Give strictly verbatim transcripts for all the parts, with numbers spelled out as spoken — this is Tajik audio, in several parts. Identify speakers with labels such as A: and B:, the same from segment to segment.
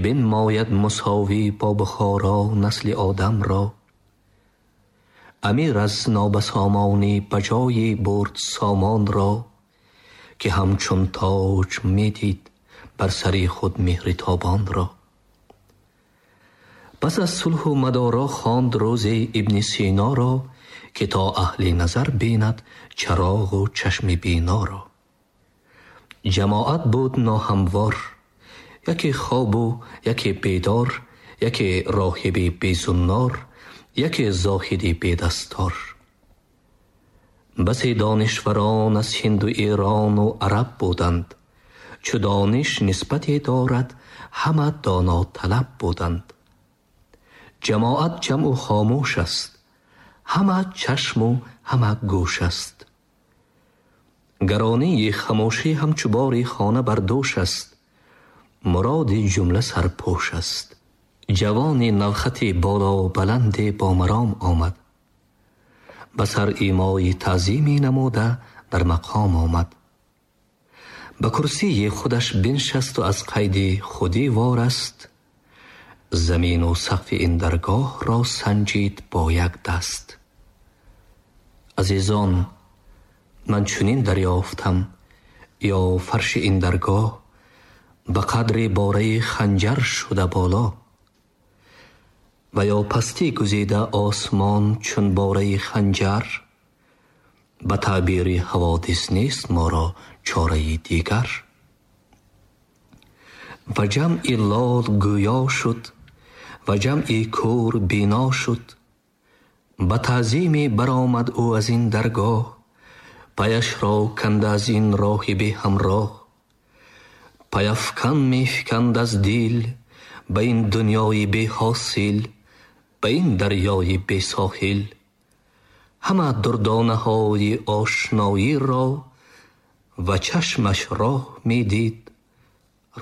A: Бинмояд мусовӣ бо Бухоро насли Одам ро. Амир аз нобасомонӣ ба ҷойе бурд сомон ро, ки ҳамчун тоҷ медид бар сари худ меҳри тобон ро. Пас аз сулҳу мадоро хонд рӯзе Ибни Сино ро, ки то аҳли назар бинад чароғу чашми бино ро. Ҷамоат буд ноҳамвор, яке хобу яке бедор, яке роҳиби безуннор, яке зоҳиди бедастор. Басе донишварон аз Ҳинду Эрону араб буданд, чу дониш нисбате дорад, ҳама доноталаб буданд. Ҷамоат ҷамъу хомӯш аст, ҳама чашму ҳама гӯш аст. Гаронии хамӯшӣ ҳамчу бори хона бар дӯш аст, муроди ҷумла сарпӯш аст. Ҷавони навхати боло баланде бо маром омад, ба сар имои таъзиме намуда дар мақом омад. Ба курсии худаш биншасту аз қайди худӣ вораст, замину сақфи ин даргоҳро санҷид бо як даст. Азизон, ман чунин дарёфтам, ё фарши ин даргоҳ ба қадри бораи ханҷар шуда боло, ва ё пастӣ гузида осмон чун бораи ханҷар, ба таъбири ҳаводис нест моро чораи дигар. Ва ҷамъи лол гӯё шуд, ва ҷамъи кӯр бино шуд. Ба таъзиме баромад ӯ аз ин даргоҳ, паяшро канда аз ин роҳи беҳамроҳ. Паяфкан мефиканд аз дил ба ин дунёи беҳосил, ба ин дарёи бесоҳил. Ҳама дурдонаҳои ошноиро ва чашмаш роҳ медид,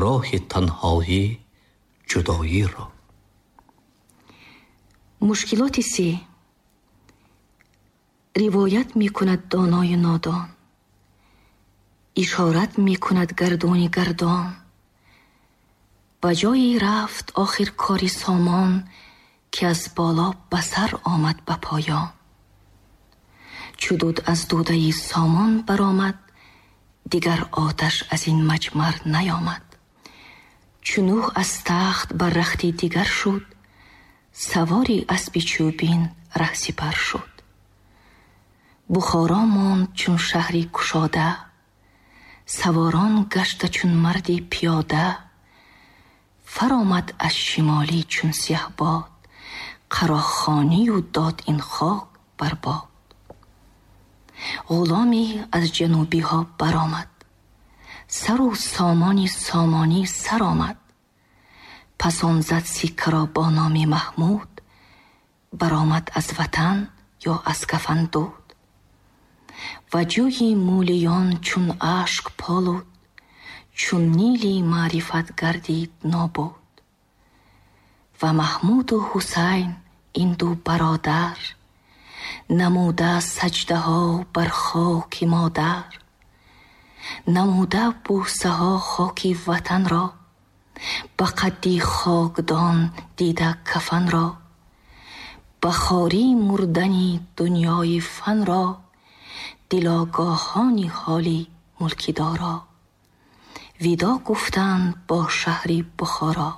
A: роҳи танҳоӣ ҷудоиро.
B: Мушкилоти се. Ривоят мекунад донои нодон, ишорат мекунад гардуни гардон. Ба ҷое рафт охир кори сомон, ки аз боло ба сар омад ба поён. Чу дуд аз дудаи сомон баромад, дигар оташ аз ин маҷмар наёмад. Чу Нӯҳ аз тахт бар рахти дигар шуд, савори аспи чӯбин раҳсипар шуд. Бухоро монд чун шаҳри кушода, саворон гашта чун марди пиёда. Фаромад аз шимолӣ чун сиҳбод, қарохонию дод ин хок бар бод. Ғуломе аз ҷанубиҳо баромад, сару сомони сомонӣ сар омад. Пас он зад сиккаро бо номи Маҳмуд, баромад аз ватан ё аз кафан дуд. Ва ҷӯи мӯлиён чун ашк полуд, чун Нили маърифат гардид нобуд. Ва Маҳмуду Ҳусайн ин ду бародар намуда саҷдаҳо бар хоки модар, намуда бӯсаҳо хоки ватанро, ба қадди хокдон дида кафанро, ба хорӣ мурдани дунёи фанро, дилогоҳони ҳоли мулки доро видо гуфтанд бо шаҳри Бухоро.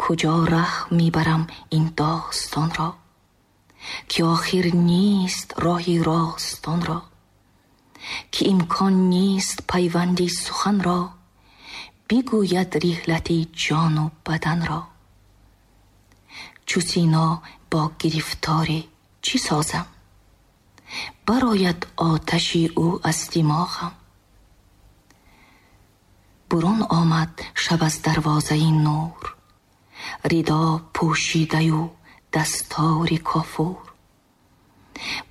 B: Куҷо раҳ мебарам ин достонро, ки охир нест роҳи ростонро, ки имкон нест пайванди суханро, бигӯяд риҳлати ҷону баданро. Чу Сино бо гирифторӣ чӣ созам, барояд оташи ӯ аз димоғам. Бурун омад шаб аз дарвозаи нур, ридо пӯшидаю дастори кофур.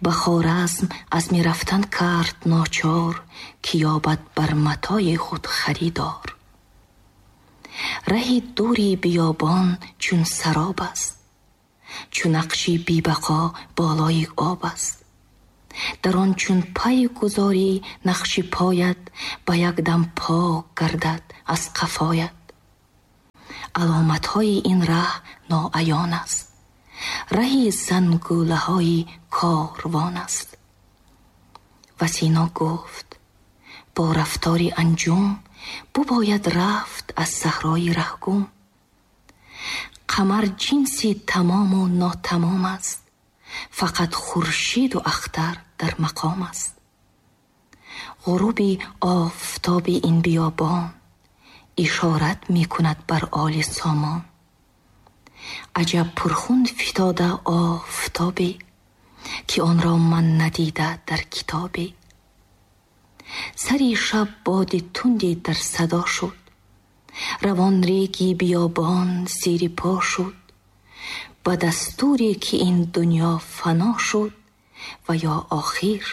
B: Ба Хоразм азми рафтан кард ночор, ки ёбад бар матои худ харидор. Раҳи дури биёбон чун сароб аст, чу нақши бебақо болои об аст. Дар он чун пай гузорӣ нақши поят, ба як дам пок гардад аз қафоят. Аломатҳои ин раҳ ноаён аст. Раҳи зангулаҳои корвон аст. Ва Сино гуфт: бо рафтори анҷум бубояд рафт аз саҳрои раҳгум. Қамар ҷинси тамому нотамом аст, фақат хуршиду ахтар дар мақом аст. Ғуруби офтоби ин биёбон ишорат мекунад бар оли сомон. Аҷаб пурхун фитода офтобе, ки онро ман надида дар китобе. Сари шаб боди тунди дар садо шуд, равон реги биёбон зери по шуд. Ба дастуре ки ин дунё фано шуд, ва ё охир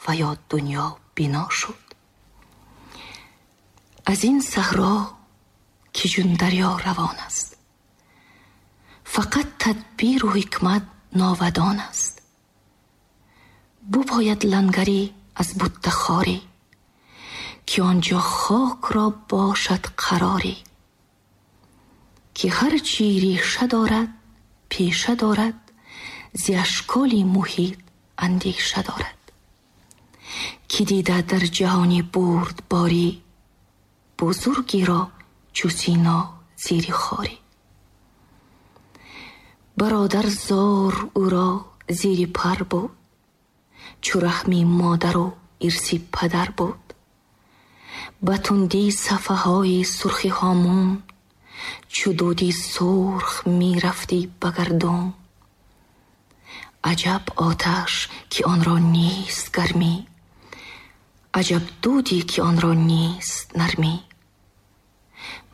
B: ва ё дунё бино шуд. Аз ин саҳро ки чун дарё равон аст, фақат тадбиру ҳикмат новадон аст. Бубояд лангаре аз бутта хоре, ки онҷо хок ро бошад қароре. Ки ҳар чи реша дорад пеша дорад, зи ашколи муҳит андеша дорад. Ки дида дар ҷаҳони бурдборӣ, бузургиро чу Сино зери хорӣ. Бародар зор ӯро зери пар буд, чу раҳми модару ирси падар буд. Ба тунди сафҳаҳои сурхи ҳомун, чу дуди сурх мерафтӣ ба гардун. Аҷаб оташ ки онро нест гармӣ, аҷаб дуде ки онро нест нармӣ.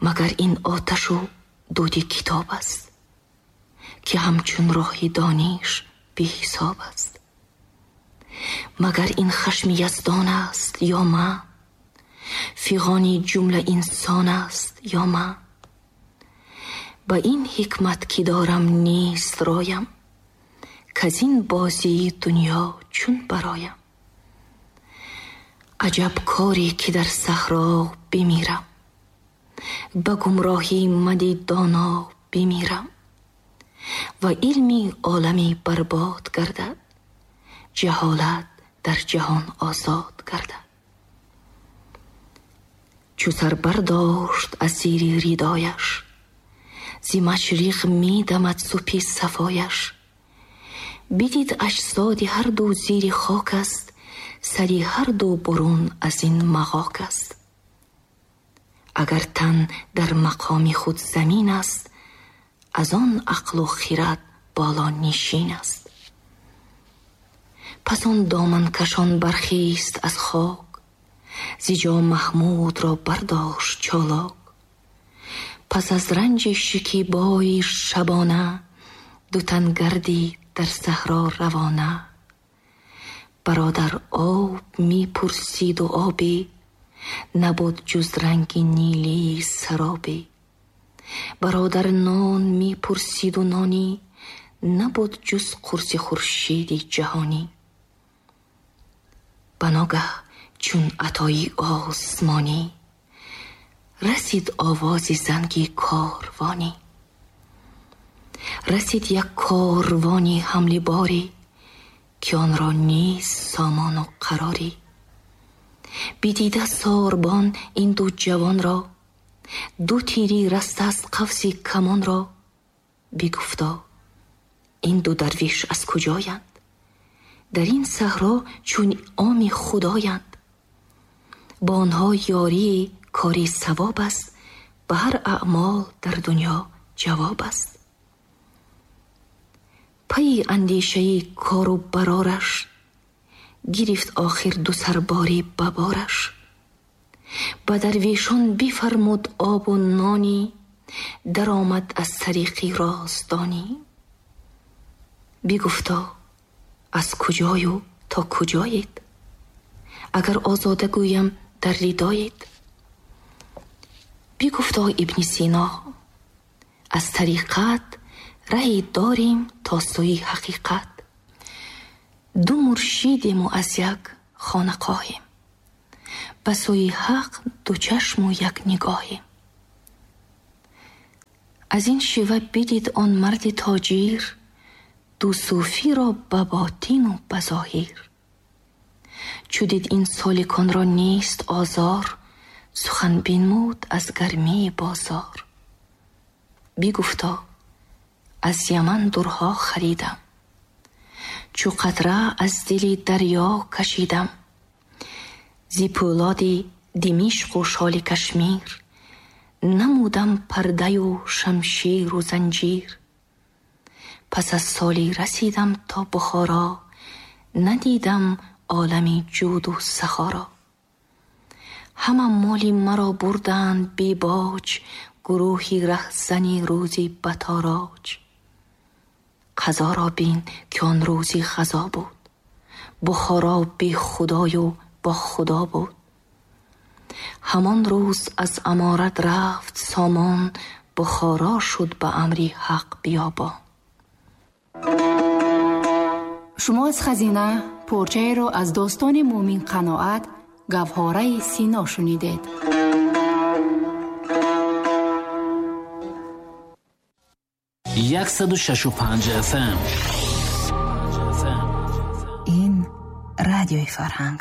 B: Магар ин оташу дуди китоб аст, ки ҳамчун роҳи дониш беҳисоб аст. Магар ин хашми яздон аст ё ман, фиғони ҷумла инсон аст ё ман. Ба ин ҳикмат ки дорам нест роям, каз ин бозии дунё чун бароям. Аҷаб коре ки дар саҳро бимирам, ба гумроҳӣ мади доно бимирам. Ва илми олами барбод гардад, ҷаҳолат дар ҷаҳон озод гардад. Чу сар бардошт аз зери ридояш, зи машриқ медамад супи сафояш. Бидид аҷсоди ҳар ду зери хок аст, сари ҳар ду бурун аз ин мағок аст. Агар тан дар мақоми худ замин аст, аз он ақлу хирад боло нишин аст. Пас он доманкашон бархест аз хок, зи ҷо Маҳмудро бардошт чолок. Пас аз ранҷи шикибои шабона, ду тан гардид дар саҳро равона. Бародар об мепурсиду обе, набуд ҷуз ранги нилии саробе. Бародар нон мепурсиду нони, набуд ҷуз қурси хуршиди ҷаҳонӣ. Ба ногаҳ чун атои осмонӣ, расид овози занги корвонӣ. Расид як корвони ҳамли борӣ, ки онро нест сомону қарорӣ. Бидида сорбон ин ду ҷавонро, ду тири раста аз қавси камонро. Бигуфто: ин ду дарвиш аз куҷоянд? Дар ин саҳро чун оми худоянд. Бо онҳо ёрии кори савоб аст, ба ҳар аъмол дар дунё ҷавоб аст. Пайи андешаи кору барораш, гирифт охир ду сарбори ба бораш. Ба дарвешон бифармуд обу нони, даромад аз тариқи роздонӣ. Бигуфто: аз куҷою то куҷоед? Агар озода гӯям дар ридоед. Бигуфто Ибни Сино: аз тариқат раҳе дорем то сӯи ҳақиқат. Ду муршидему аз як хонақоҳем, ба сӯи ҳақ ду чашму як нигоҳем. Аз ин шева бидид он марди тоҷир, ду суфиро ба ботину ба зоҳир. Чу дид ин соликонро нест озор, сухан бинмуд аз гармии бозор. Бигуфто: аз Яман дурҳо харидам, чу қатра аз дили дарё кашидам. Зи пӯлоди Димишқу шоли Кашмир, намудам пардаю шамширу занҷир. Пас аз солӣ расидам то Бухоро, надидам олами ҷуду сахоро. Ҳама моли маро бурданд бебоҷ, гурӯҳи раҳзани рӯзи ба тороҷ. Қазоро бин, ки он рӯзи ғазо буд, Бухоро бехудою бо Худо буд. Ҳамон рӯз аз аморат рафт сомон, Бухоро шуд ба амри ҳақ биёбон.
C: Шумо аз «Хазина» порчаеро аз достони Мӯмин Қаноат «Гавҳораи Сино» шунидед.
D: Яксаду шашу панҷ F M.
E: Ин радиои Фарҳанг.